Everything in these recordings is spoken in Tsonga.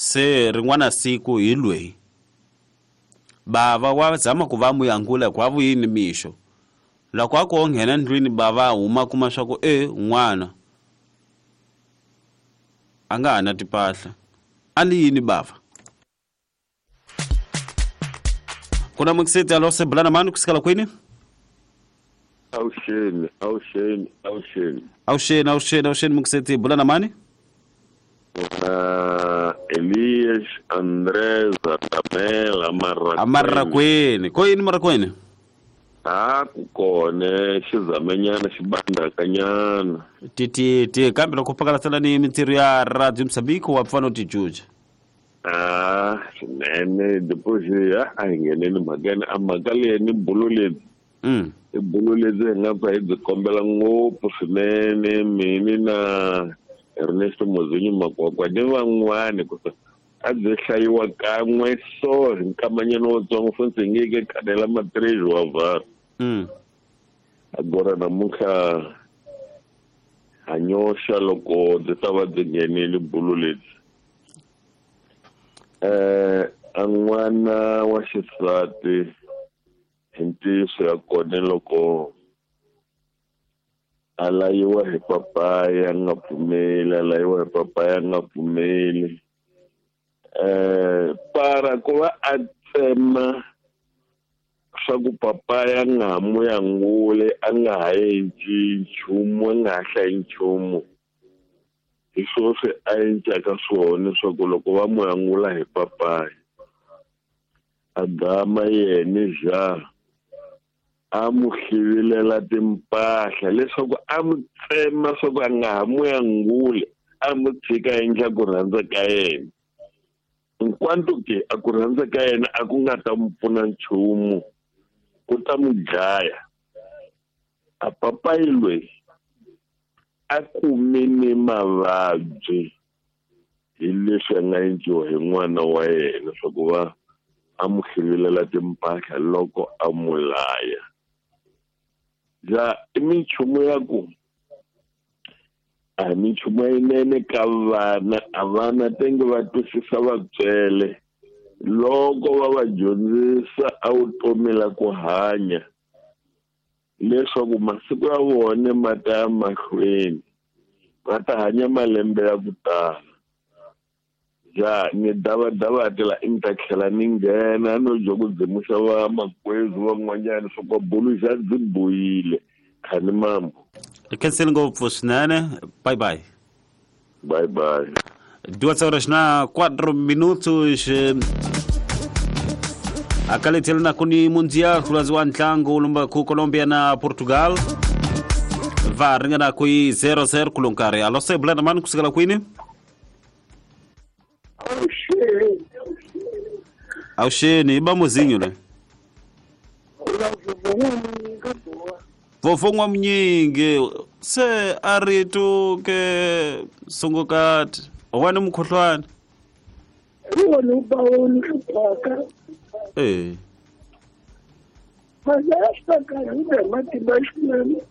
Se rin'wana siku hi lweyi bava wa zama ku va muyangula ku a vuyini mixo. Loko a ku o nghena ndlwini bava a huma kuma swa ku e n'wana a nga ha na timpahla. A ni yini bava? Ku na mukiseti alo se bulana mani kusukela kwini? Awuxeni, awuxeni, awuxeni. Awuxeni, awuxeni, awuxeni mukiseti bulana mani? Elias Andrés Atamela Marakweni. Amarakweni. Ko yini Marakweni? A ku kone xizamenyana xibandakanyana. Ti ti kambe loko pakalasela ni mintirho ya Radio Mozambique wa pfa no tijuja. Ah, swinene depois a hi ngheneni mhakeni a mhaka leyi ni bulo lebyi. I bulo lebyi hi nga pfa hi byi kombela ngopfu swinene mini na Ernesto Mozinyo Makwakwa ni van'wani ku a byi hlayiwa kan'we so hi nkamanyana wutsongo funtsi hi nge ke khanela matrezi wa vhara. Agora namuntlha ha nyoxa loko byi ta va byi nghenile bulo lebyi. A n'wana wa xisati hi ntiyiso ya kona loko a layiwa hi papaya a nga pfumeli, a layiwa hi papaya a nga pfumeli. Para ku va a tsema swa ku papaya a nga ha mu yanguli, a nga ha endli nchumu, a nga ha hlayi nchumu. Hi swona swi a endlaka swona leswaku loko va mu yangula hi papaya a gama yena ja a mu hlivilela timpahla leswaku a mu tsema swa ku a nga ha mu yanguli, a mu tshika endla ku rhandza ka yena. Hinkwato ke a ku rhandza ka yena a ku nga ta mu pfuna nchumu, ku ta mu dlaya. A papayi loyi a kumile mavabyi hi leswi a nga endliwa hi n'wana wa yena swa ku va a mu hlivilela timpahla loko a mu laya. Ja i minchumu ya ku a hi minchumu yinene ka vana, a vana tenge va twisisa vatswele loko va va dyondzisa a vutomi la ku hanya leswaku masiku ya vona ma ta ya mahlweni, va ta hanya malembe ya ku tala. Ja ni davadava tela i ni ta tlhela ni nghena no dya ku dzimuxa va makwezu van'wanyana swa ku bulu xa byi boyile khani mambo. Hi khensile ngopfu swinene. Bye bye. Bye bye. 2 horas na 4 minutos. Akalethele na kuni mundial kulaziwa ntlangu lumba ku Colombia na Portugal. Va ringana ku 0-0 kulonkarhi. Alo se bulana mani kusukela kwini? Awuxeni. Awuxeni, i ba muzinyo le. Vovho n'wamunyingi se a ri tu ke sungukati wena mukhuhlwana. Wona u ba wona hluphaka. Eh. Mazaya xipaka hi be matimba swinene.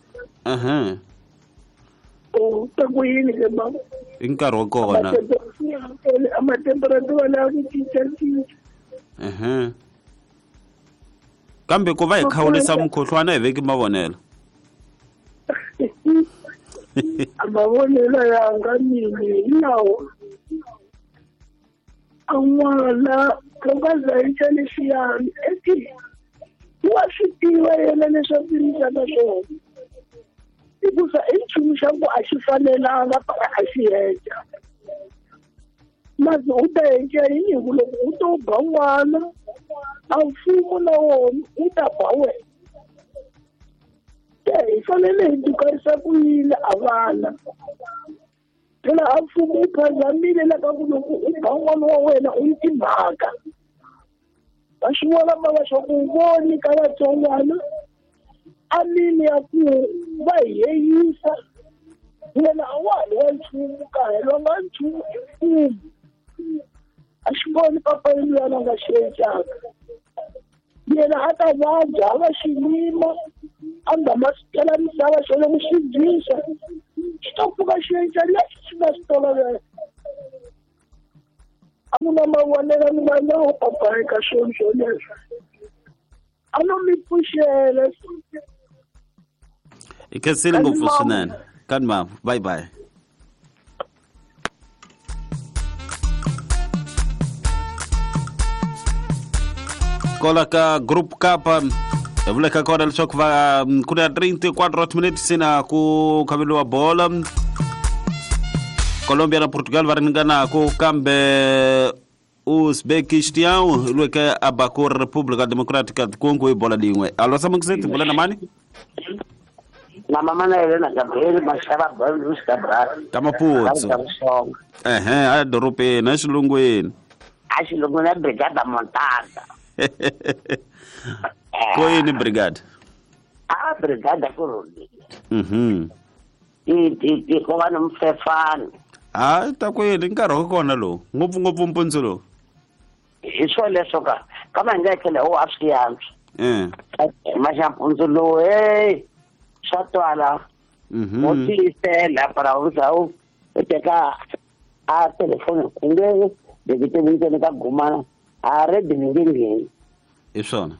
Aha. U ta ku yini ke mama? I nkarhi wa kona. A matemperatura lawa ku cinca cinca. Aha. Kambe ku va hi khawulisa mukhuhlwana hi veki mavonelo. A mavonelo yanga mini hi lawa. A n'wana loko a za endla leswiyani eti wa swi tiva yena leswaku yisaka swona. Hikusa i nchumu xa ku a xi fanelanga para a xi endla. Masi u ta endla yini hi ku loko u to ba n'wana a mfumo na wona wu ta ba wena. Se hi fanele hi dukarisa ku yini a vana. Phela a mfumo wu phazamile la ka ku loko u ba n'wana wa wena u ni timhaka. Va swi vona mava swa ku voni ka vatsongwana a mini ya ku va hi yeyisa wena a wa ha ri wa nchumu ka helwanga nchumu hi mfumo. A xi voni papa luyana a nga xi endlaka. Yena a ta vabya a va xilima a nga ma swi tela misava xo loko xi dyisa xi ta pfuka xi endla leswi xi nga swi tolovela. A ku na mavonelo ni nga nawo papa eka swona swoleswo. A no mi pfuxela. I khensile ngopfu swinene. Kani mama, bye bye. Kola ka group kapa hi vuleka kona leswaku va ku na 34 minutes sina ku khaveliwa bola Colombia na Portugal va ringanako kambe Uzbekistan lweke a ba ku República Democrática do Congo hi bola lin'we alo samakiseti bula na mani na mama na yena Gabriel Mashava Bruce Cabral ka Maputsu ehe a dorobeni exilungwini a xilungwini a brigada Montana ko yini brigada a brigada ku rhulile ti ko va ni mfefano a ta ku yini nkarhi wa kona lowu ngopfungopfu mpundzu lowu hi swo leswo ka kama hi nga tlhela wo a swi yantswa maxampundzu lowu hey swa twala wo tiyisela para u za u teka a telefoni ku nge bekitevuyiseni ka gumana a redi ni nge ngheni hi swona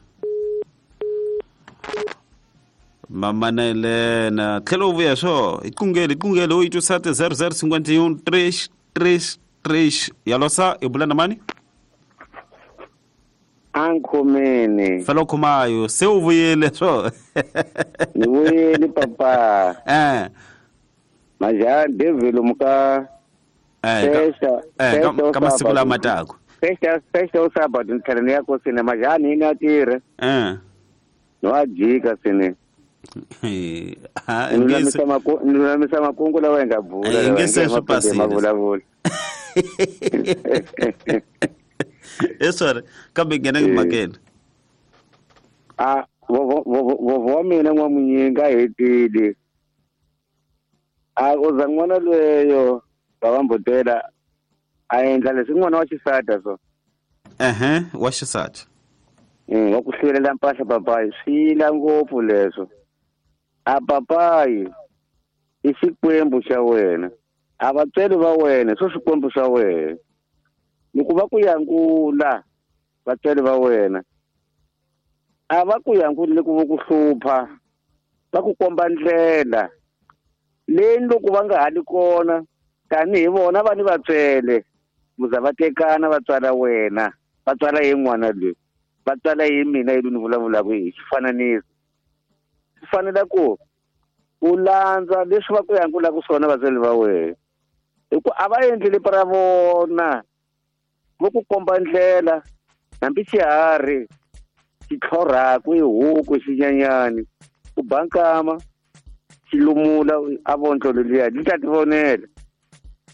mamanelena tlhela u vuya swo hi qungele hi qungele u yi twisate 0051 3 3 3 yalosa hi bula na mani a nkhomeni fela u khomayo se u vuyile swo ni vuyile papa majani devil muka ka masiku lama taka fexta u sabado ni tlhela ni ya kosini majani ni a tirha no a jika sine ni lulamisa makungu lawa hi nga bula hi nge se swi pasile mavulavula e sorry kambe nghena mhakeni a vovho wa mina n'wamunyinga a hetile a uza n'wana lweyo va mbutela a endla leswi n'wana wa xisati so ehe wa xisati wa ku hlwelela mpahla papayi swi yila ngopfu leswo a papayi i xikwembu xa wena a vatswari va wena swo swikwembu swa wena loko va ku yangula vatswari va wena a va ku yanguli ku va ku hlupha va ku komba ndlela leyi loko va nga hali kona tanihi vona va ni vatswele muza va tekana va tswala wena va tswala ye n'wana loyi va tswala ye mina yi ni vulavulaka hi xifananiso swi fanele ku u landza leswi va ku yangulaka swona vatswari va wena hi ku a va endleli pra vona vo ku komba ndlela hambi xiharhi xi tlhorhaku i huku xinyanyani u ba nkama xi lumula a vontlo leliya li ta ti vonela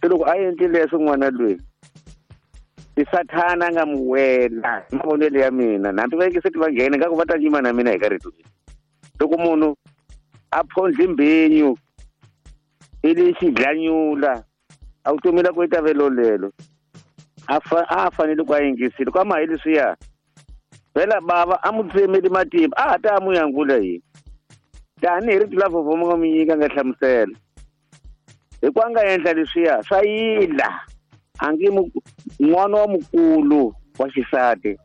se loko a endli leswo n'wana loyi i sathana a nga mu wela hi mavonelo ya mina hambi va yingiseti va nghena ngaku va ta yima na mina hi ka rito loko munhu a phondli mbinyu i li xidlanyula a vutomi la ku yi ta velolelo a fanele ku a yingisile ku ama hi leswiya vhela bava a mu tsemeli matimba a ha ta a mu yangula yini tanihi rito la vhovho mu nga mu nyika nga hlamusela hi ku a nga endla leswiya swa yila a nge n'wana wa mukulu wa xisati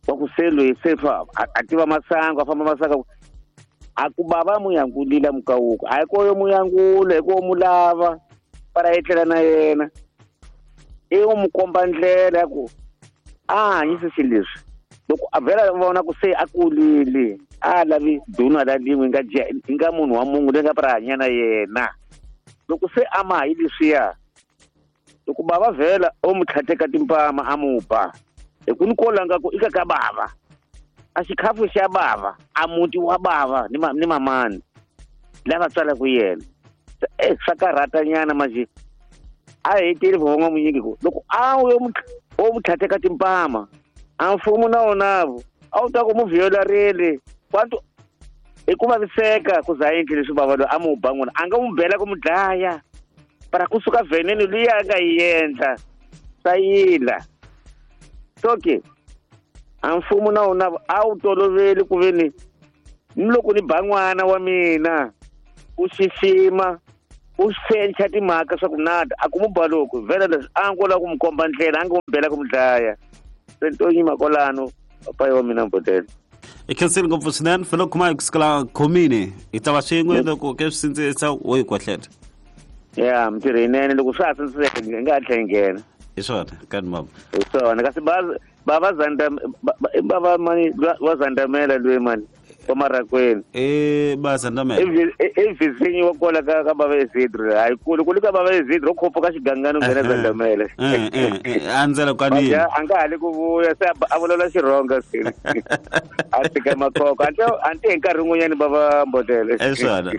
wa ku se loyi se a tiva masangu a famba masangu a ku bava mu yangulile mukawuku a hi ko yo mu yangula hi ko mu lava para etlela na yena i u mu komba ndlela ya ku a hanyise xilo leswi loko a vhela vona ku se a kulile a lavi duna la lin'we nga nga munhu wa munhu leyi nga para hanya na yena loko se a ma hayi leswiya loko bava vhela o mu tlhateka timpama a mu ba hi ku ni kolanga ku i ka ka bava a xikhafu xa bava a muti wa bava ni mamani lava tswalaka yena swa karhatanyana manje a heteli vhonga munyingi ku loko a yo o mu tlhateka timpama a mfumo na wonavo a wu ta ku mu vuyelarile kwantu i ku vaviseka ku za endli leswi bava loyi a mu ba n'wina a nga mu bela ku mu dlaya para kusuka venene liya a nga yi endla swa yila so ke a mfumo na wona a wu toloveli ku ve ni loko ni ba n'wana wa mina u xixima U sencha timhaka swa ku nada a ku mu baloko vhela leswi a ngo lava ku mu komba ndlela a ngo mu bela ku mu dlaya. Se to yima kwalano papayi wa mina Mbodela. I khensile ngopfu swinene fela kuma hi kusukela khomini hi ta va swin'we loko ke swi sindzisa wo hi kwahleta. Ya mintirho yinene loko swa ha sindziseka hi nga ha tlhela hi nghena. Hi swona kani mama. Hi swona kasi bava zanda bava mani wa zandamela loyi mani wa Marakweni. Ba zandamela. Evizinyi wa kwala ka bava Isidro hayi kule kule ka bava Isidro khopho ka xigangano nghena zandamela. Andzela kwanini. A nga hali ku vuya se a vulavula Xirhonga se. A tika makhokho anti hi nkarhi wun'wanyani bava Mbodela. Hi swona.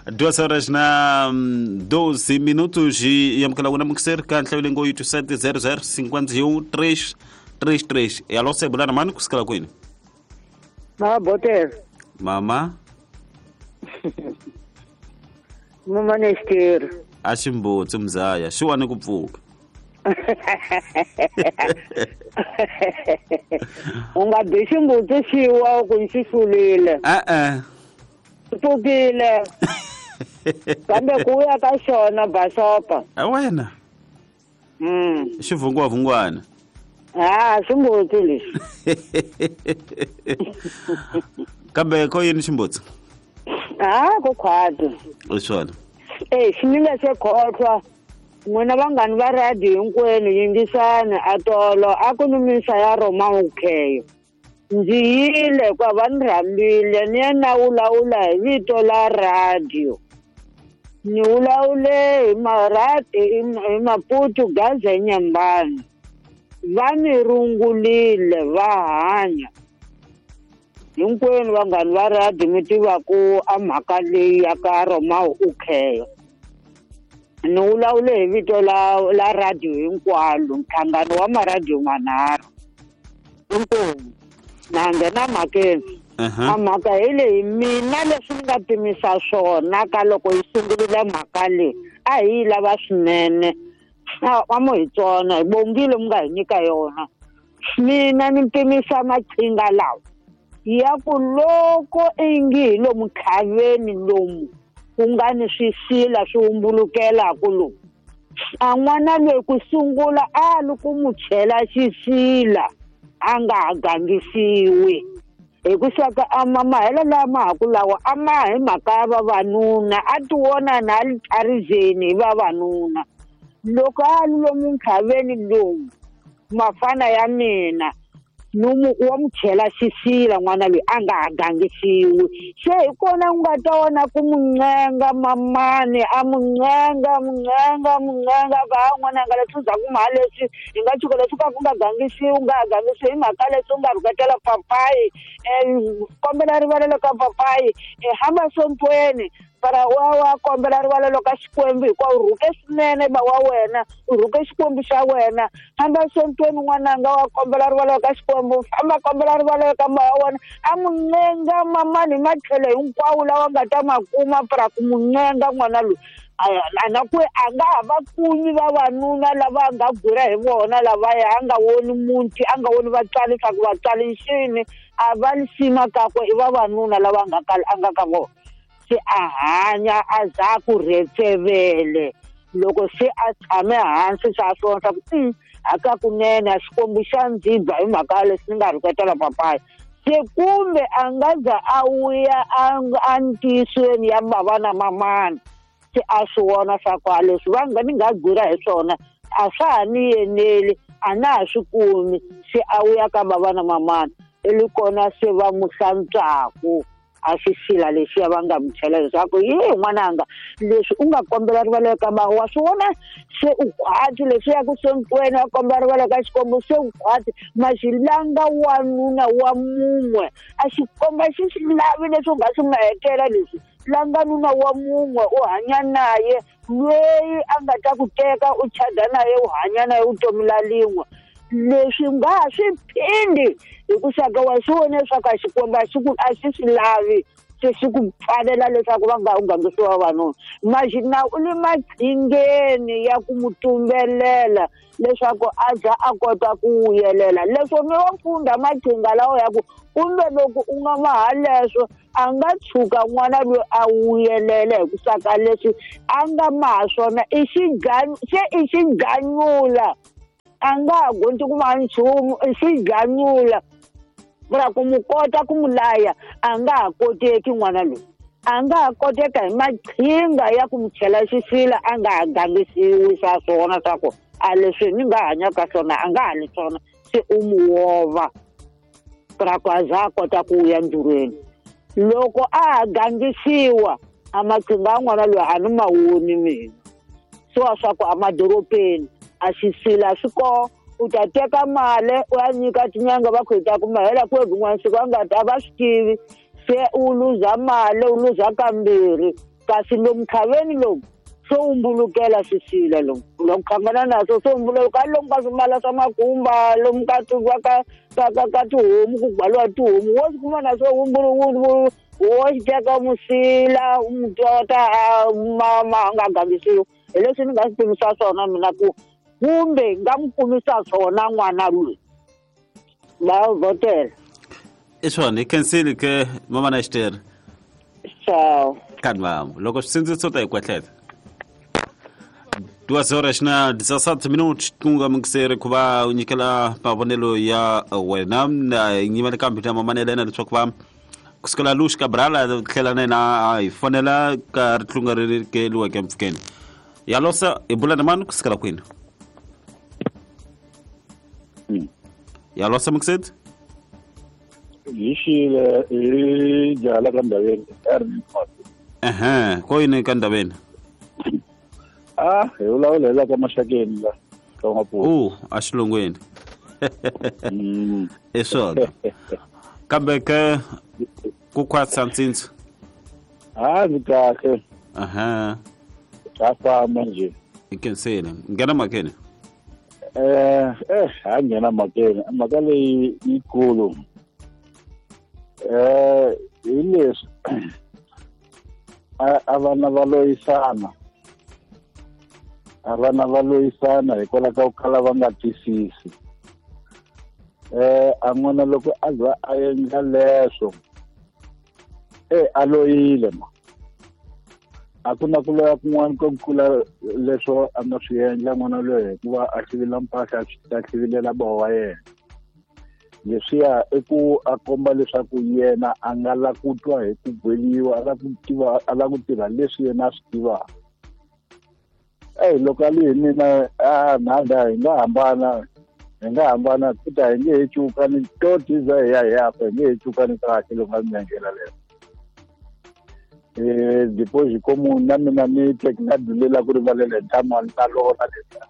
2h12 minutos e amukela wena mukiseri ka nhlayo leyi ngo yi 7 00 51 3 33. Alô, sebulana mani kusukela kwini? Ma Botela. Mama. Mama Nestero. A ximbutsi mzaya, xi wani ku pfuka. U nga bi ximbutsi xi wa ku xi hlulile. E-e. Pfukile. Kambe ku ya ka xona basopa. A wena. Xivungwavungwana. Ah, ximbutsi lexi. Kambe ko yini ximbutsi? Ah, ku khwati. Hi swona. Xi se khohlwa. N'wina vanghani va radio hinkwenu yingisani atolo a ku ni misa ya Roma ukheyo. Ndzi yile kwa va ni rhambile ni ya na wulawula hi vito la radio. Ni wulawule hi hi Maputo Gaza Nyambani. Va ni rungulile va hanya. Hinkwenu vanghani va radio mi tiva ku a mhaka leyi ya ka Roma ukheyo. Ni wulawule hi vito la radio hinkwalo, nhlangano wa maradio manharhu. Hinkwenu. Na nghena mhakeni. A mhaka hi leyi mina leswi ni nga pimisa swona ka loko yi sungurile mhaka leyi a hi yi lava swinene. A mo hi tsona hi bongile mi nga hi nyika yona. Mina ni pimisa maqhinga lawa ya ku loko ingi hi lomu khaveni lomu ku nga ni swisila swi humbulukelaku lomu. A n'wana loyi ku sungula a li ku mu chela xisila a nga ha gangisiwi. Hi ku saka a mahelo lama ha ku lawa a ma hi mhaka ya vavanuna a ti vona na a li tlharizeni hi vavanuna. Loko a li lomu nkhaveni lomu mafana ya mina nomu wa mu chela xisila n'wana loyi a nga ha gangisiwi. Se hi kona u nga ta vona ku mu ncenga mamani a mu ncenga mu ncenga mu ncenga ka ha n'wananga leswi za ku mha leswi hi nga tshuka leswi ka ku nga gangisiwi u nga ha gangisiwi hi mhaka leswi u nga rhuketela papayi kombela rivalelo ka papayi hamba sontweni para wa kombela rivalelo ka Xikwembu hikuva u rhuke swinene ba wa wena u rhuke Xikwembu xa wena hamba sontweni n'wananga wa kombela rivalelo ka Xikwembu famba kombela rivalelo ka ma wa wena a mu ncenga mamani hi matlhelo hinkwawo lawa nga ta ma kuma para ku mu ncenga n'wana loyi a na ku a nga ha va kumi vavanuna lava nga gura hi vona lavaya a nga voni muti a nga voni vatswari swa ku vatswari xini a va lisima kakwe i vavanuna lava nga a nga ka vona. Se a hanya a za ku rhetsevele loko se a tshame hansi swa swona swa ku hakakunene a Xikwembu xa ndzi ba hi mhaka leswi ni nga rhuketela papayi. Se kumbe a nga za a vuya a ntiyisweni ya bava na mamani se a swi vona swa ku a leswi va nga ni nga gura hi swona a swa ha ni yeneli a na ha swi kumi se a vuya ka bava na mamani i li kona se va mu hlantswaku a xisila lexiya va nga mu chela leswaku ye n'wananga leswi u nga kombela rivalelo ka ma wa swi vona se u khwati leswi ya ku sontweni wa kombela rivalelo ka Xikwembu se u khwati maxilanga wanuna wa mun'we a xikomba xi swi lavi leswi u nga swi mahetela leswi langa nuna wa mun'we u hanya naye loyi a nga ta ku teka u chada naye u hanya naye vutomi la lin'we leswi nga ha swi phindi hi ku saka wa swi vona leswaku a Xikwembu a xi swi lavi se swi ku pfalela leswaku va nga u gangisiwa vavanuna. Maxina u le maqhingeni ya ku mu tumbelela leswaku a za a kota ku vuyelela. Leswo ni wo funda maqhinga lawa ya ku kumbe loko u nga maha leswo a nga tshuka n'wana loyi a vuyelela hi ku saka leswi a nga maha swona i se i xiganyula a nga ha gondzi ku maha nchumu i xiganyula ra ku mu kota ku mu laya a nga ha koteki n'wana loyi a nga ha koteka hi maqhinga ya ku mu chela xisila a nga ha gangisiwi swa swona swa ku a leswi ni nga hanyaka swona a nga hali swona se u mu wova ra ku a za a kota ku ya ndzurweni. Loko a ha gangisiwa a maqhinga ya n'wana loyi a ni ma woni mina swa swa ku emadorobeni a xisila swi kona u ta teka mali u ya nyika tinyanga va ku hi ta kuma hela kwihi kun'wana siku a nga ta va swi tivi se u luza mali u luza kambirhi kasi lomu khaveni lomu swo humbulukela swisila lomu loko khangana naswo swo humbuluka lomu ka swimala swa makumba lomu ka ka tihomu ku gwaliwa tihomu wo swi kuma naswo wo xi teka musila mutota ma nga gangisiwi hi leswi ni nga swi tivisa swona mina ku kumbe nga mu kumisa swona n'wana loyi va vhotela. I swona hi khensile ke mama na xitere. Ciao. Kanvamu loko swi ta hi kwehlela 2h17 minutos tunga mingiseri ku va u nyikela mavonelo ya wena nyimele kambe na mamanele na leswaku va kusukela Lush Cabral tlhela na yena hi fonela ka ritlunga ri keliweke mpfhukeni ya losa hi bula na mani kusukela kwini ya losa mingiseri hi xile hi jaha ka Ndaveni. Ehe ko yini ka Ndaveni? Ah, hi vulavula ka Maxakeni la ka N'waputi. A xilungwini. I swona. Kambe ke ku khwatsa ntsintso. Ah, ndzi kahle. Aha. Ka famba nje. I khensile. Nghena makeni. Ha nghena makeni. Mhaka leyi yikulu. Hi leswi a vana va loyisana. A vana va loyisana hikwalaho ka ku kala va nga twisisi. A n'wana loko a za a endla leswo a loyile ma. A ku na ku loya kun'wana ko kula leswo a nga swi endla n'wana loyi hikuva a hlivila mpahla a hlivilela bawa wa yena. Leswiya i ku a komba leswaku yena a nga la ku twa hi ku gweliwa a la ku tiva a la ku tirha leswi yena a swi tivaka. Loko a li hi mina a nada hi nga hambana futhi a hi nge he cukani to tiza hi ya hi ya fa hi nge he cukani kahle loko a mi endlela leyo. Depois como na mina ni teki na dulela ku rivalela hi ntamu ni ta lona leswiya.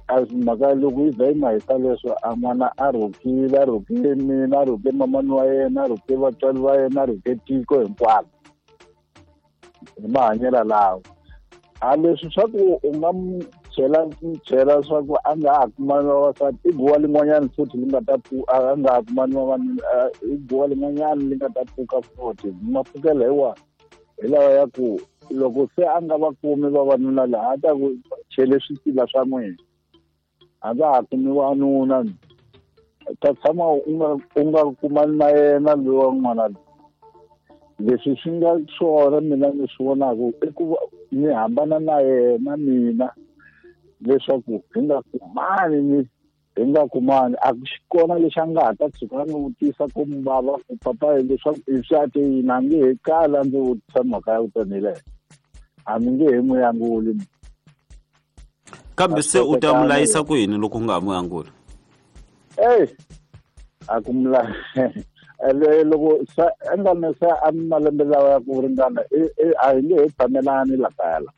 A mhaka loko yi za yi mahisa leswo a n'wana a rhukile a rhuke mina a rhuke mamani wa yena a rhuke vatswari va yena a rhuke tiko hinkwaro hi mahanyelo lawa. A leswi swa ku u nga mu chela swa ku a nga ha kumani vavasati i guwa lin'wanyana futhi li nga ta a nga ha kumani vavanuna i guwa lin'wanyana li nga ta pfuka futhi mapfukela hi wa hi lawa ya ku loko se a nga va kumi vavanuna laha a ta ku chele swisila swa n'wina a nga ha kumi wanuna ta tshama u nga kumani na yena lowa n'wana loyi. Leswi swi nga swona mina ni swi vonaka i ku ni hambana na yena mina leswaku hi nga kumani a ku xi kona lexi a nga ha ta tshuka a ni vutisa ku bava ku papa leswaku i swi a te yini a nge he kala ndzi vutisa mhaka ya vutomi leyo a mi nge he n'wi anguli. Kambe se u ta mu layisa ku yini loko u nga ha n'wi anguli? A ku mu loko sa a nga na sa a malembe lawa ya ku ringana a hi nge he tshamelani la kaya la.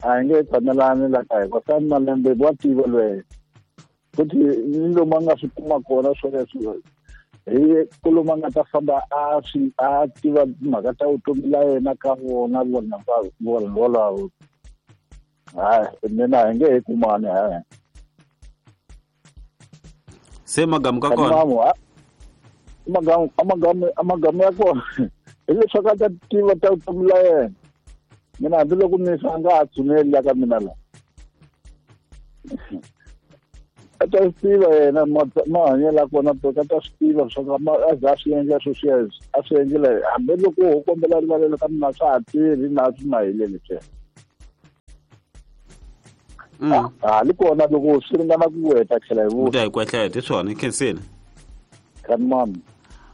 A hi nge he tshamelani la kaya hikuva sa malembe wa tiva lweyo futhi ni lomu a nga swi kuma kona swoleswo hi ku lomu a nga ta famba a swi a tiva timhaka ta vutomi la yena ka vona vona vanhu volavo. Hayi mina hi nge he kumani hayi. Se magamu ka kona. Amagama ya kona hileswaku a ta tiva ta vutomi la yena. Mina hambiloko ni fa nga ha tshuneli la ka mina la. A ta swi tiva yena mahanyelo ya kona a ta swi tiva leswaku a za a swi endla sweswiya a swi endlela hambiloko ho kombela rivalelo ka mina swa ha tirhi na swi mahele leswiya. Ha li kona loko swi ringana ku weta tlhela hi vuta hi kwehleta hi swona khensile kanimami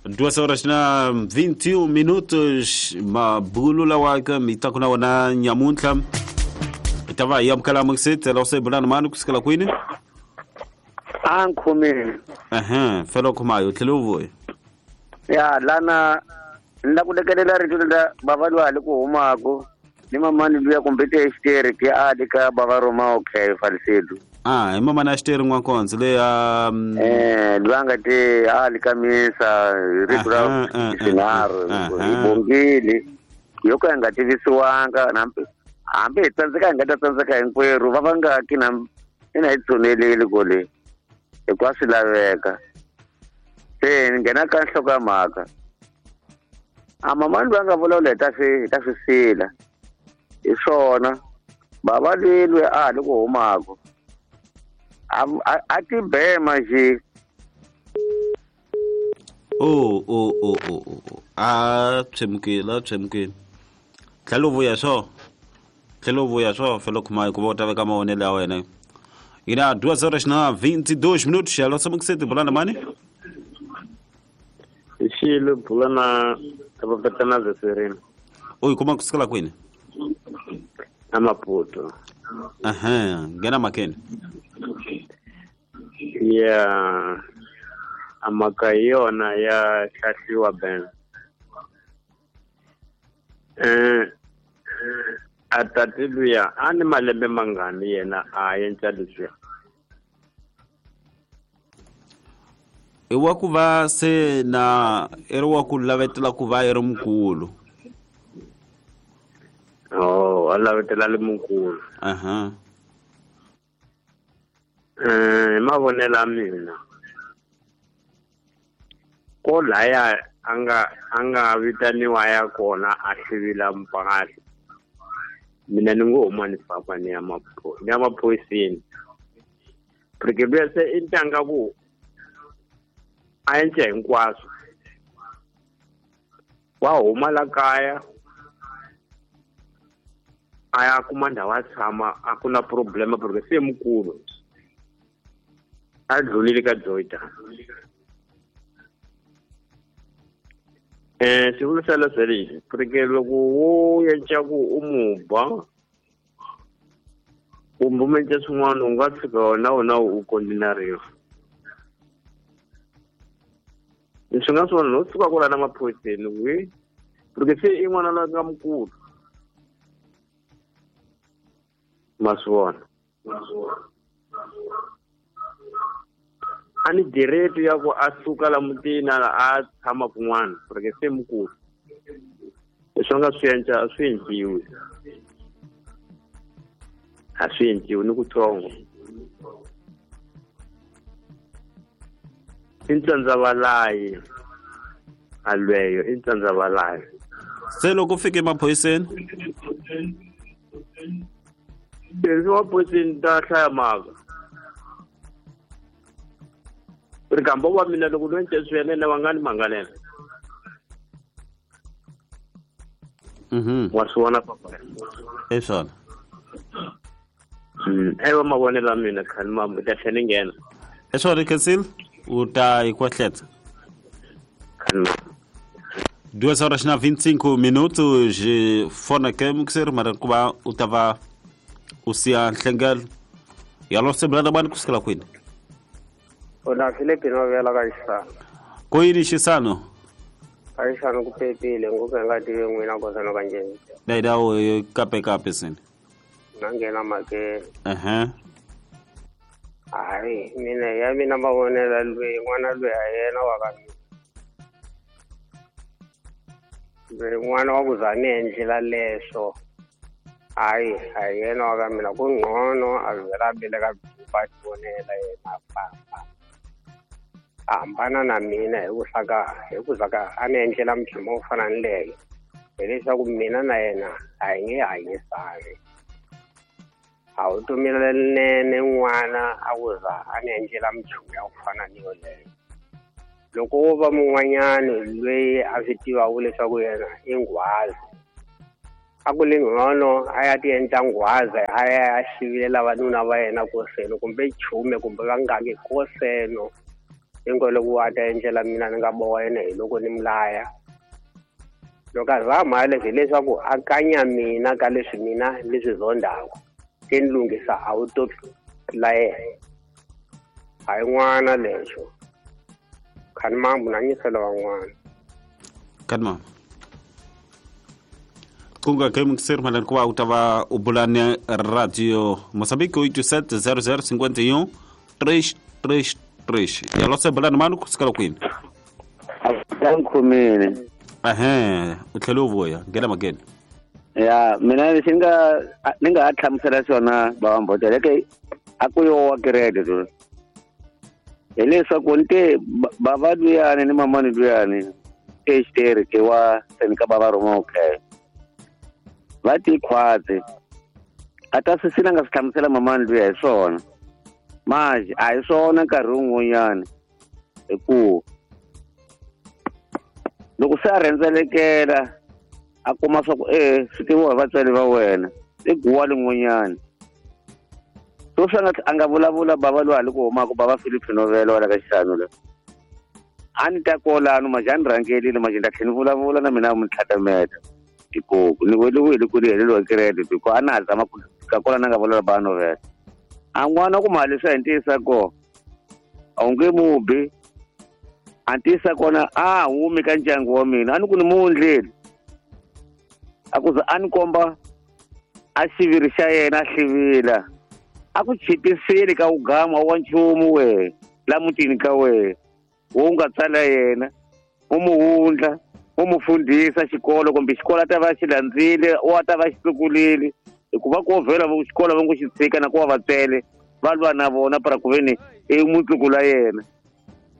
2 horas na 21 minutos mabulu lawa ka mi ta ku na wona nyamuntlha hi ta va hi amukela mukisitela u se bulana mani kusukela kwini a nkhomile ehe fela khumayo tlhele u vuya ya lana ni la ku lekelela rito lela bava loyi a le ku humaku ni mamani luya kumbe te xiteri ke a le ka bava roma okay falisedu ah hi mamani a xiteri n'wankonzo leyi a loyi a nga te a le ka misa hi rito ra xinharhu hi bongile yo ka hi nga tivisiwanga hambi hi tsandzeka hi nga ta tsandzeka hinkwerhu va va nga ki na ina hi tshuneleli kole hikuva swi laveka se ni nghena ka nhloko ya mhaka a mamani loyi a nga vulavula hi ta swi sila hi swona bava loyi loyi a ha le ku humaka a tibema nje o a tshemukile tlhela u vuya swo fela khuma hikuva u ta veka mavonelo ya wena ina 2 horas na 22 minutos alo samukiseti bulana mani xilo bulana vapatana zesereni u yi kuma kusukela kwini a Maputo ehe nghena makeni ya amaka hi yona ya hlahliwa ben a tati luya a ni malembe mangani yena a endla leswiya i wa ku va se na i ri wa ku lavetela ku va i ri mukulu oh a lavetela le mukulu aha hi mavonelo ya mina ko laya a nga vitaniwa ya kona a hlivila mpahla mina ni ngo huma ni famba ni ya maphoyiseni porque luya se i ntanga ku a endla hinkwaswo wa huma la kaya a ya kuma ndhawu a tshama a ku na problema porque se mukulu a dlulile ka joyita xivulu xa leswo lexi porque loko wo endla ku u mu ba kumbe u endla swin'wana u nga tshika na wona u kondinariwa leswi nga swona no suka kwala na maphoyiseni wi porque se i n'wana loyi nga mukulu ma swi vona a ni direto ya ku a suka la mutini a tshama kun'wana porque se mukulu leswi a nga swi endla a swi endliwi a swi endliwi ni kutsongo i ntsandzavalayi a lweyo i ntsandzavalayi se loko u fike emaphoyiseni leswi maphoyiseni ta hlaya mhaka rikamba wa mina loko no endla swi yena va nga ni mangalela wa swi vona papa i swona ewa mavonelo ya mina khani mambo ta tlhela ni nghena i swona Khensil u ta yi kwahletsa khani 2 horas na 25 minutos fona ke mukiseri mara ku va u ta va u siya nhlengelo yalo sebulana bani kusukela kwini Ona Philippe novela ka xisano ko yini xisano ka xisano ku pepile ngopfu hi nga tivi n'wina kosana ka njhani dayidawo kape kape sini na nghena makeni ehe hayi mina ya mina mavonelo loyi n'wana loyi a yena wa ka mina loyi n'wana wa ku za ni endlela leswo hayi a yena wa ka mina ku ngcono a vhela a beleka a tivonela yena a famba. A hambana na mina hi ku zaka a ni endlela minchumu wo fana ni leyo, hileswaku mina na yena a hi nge hanyisani. A wu tumile nene n'wana a ku za a ni endlela minchumu ya ku fana ni yoleyo. Loko wo va mun'wanyani loyi a swi tivaka leswaku yena i nghwazi, a ku le ngcono a ya ti endla nghwazi a ya xivilela vanuna va yena koseno kumbe chume kumbe vangaki koseno, hinkwavo loko a ta endlela mina ni nga boha yena hi loko ni mulaya. Loko a zama leswi hileswaku a kanya mina ka leswi mina leswi zondaka, se ni lunghisa a wu to la yena. A yi n'wana lexo. Khani mambu na nyisela van'wana. Khani mambu. Kunga ke mixer malan ku va u ta va u bulane radio Moçambique 87 00 51 333. Ya lo se bulane mani ku sukela kwini? A nkhumile. Ehe, u tlhela u vuya, nghena makeni. Ya, mina lexi ni nga ha hlamusela xona bava Mbotela ke a ku yo wa kereke to. Hileswaku ni te bava luyani ni mamani luyani exitere ke wa seni ka bava Roma okay. Va ti khwatsi. A ta swi sina nga swi hlamusela mamani luya hi swona. Manje a hi swona nkarhi wun'wanyana hikuva loko se a rhendzelekela a kuma swa ku swi tiviwa hi vatswari va wena i guwa lin'wanyana. So swi a nga vulavula bava loyi a le ku humaka bava Philip Novelo wala ka xixano la. A ni ta kolano manje a ni rhangelile manje ni ta tlhela ni vulavula na mina mi tlhatameta. Hikuva ni weliwile ku ni heleliwa credit hikuva a na ha zama ku fika kwala na nga vulavula bava Novelo. A n'wana ku mali swi hi kona a wu nge mubi a ntiyisa kona a humi ka ndyangu wa mina a ni ku ni mu ndleli. A ku za a ni komba a xiviri xa yena a hlivila a ku chipisile ka wugama wa nchumu we la mutini ka we wo nga tsala yena u mu wundla u mu fundhisa xikolo kumbe xikolo a ta va xi landzile o a ta va xi tlukulile hikuva ku vhela vo xikolo va ngo xi tshika na ku va vatswele va lwa na vona para ku veni i mutlukula yena.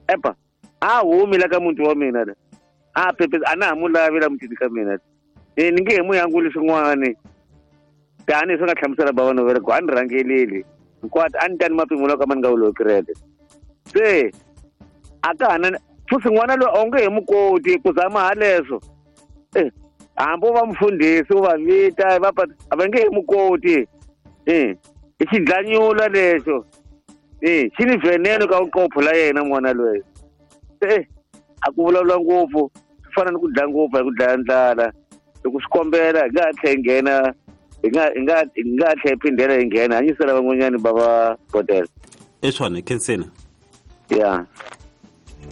Epa a humi la ka muti wa mina la a pepe a na ha mu lavi la mutini ka mina ni nge he mu yanguli swin'wani tanihi swi nga hlamusela bava Novela ku a ni rhangeleli hinkwato a ni tani mapimelo ka ma ni nga wuloyi kereke se a ka ha na futhi n'wana loyi a wu nge he mu koti ku zama ha leswo hambi u va mufundhisi u va vita va a va nge he mu koti i xidlanyula lexo xi ni veneno ka vuqopho la yena n'wana loyi a ku vulavula ngopfu swi fana ni ku dlaya ngopfu hi ku dlaya ndlala loko swi kombela hi nga ha tlhela hi nghena hi nga ha tlhela hi phindela hi nghena hanyisela van'wanyani va va Botela. I swona khenseni. Ya.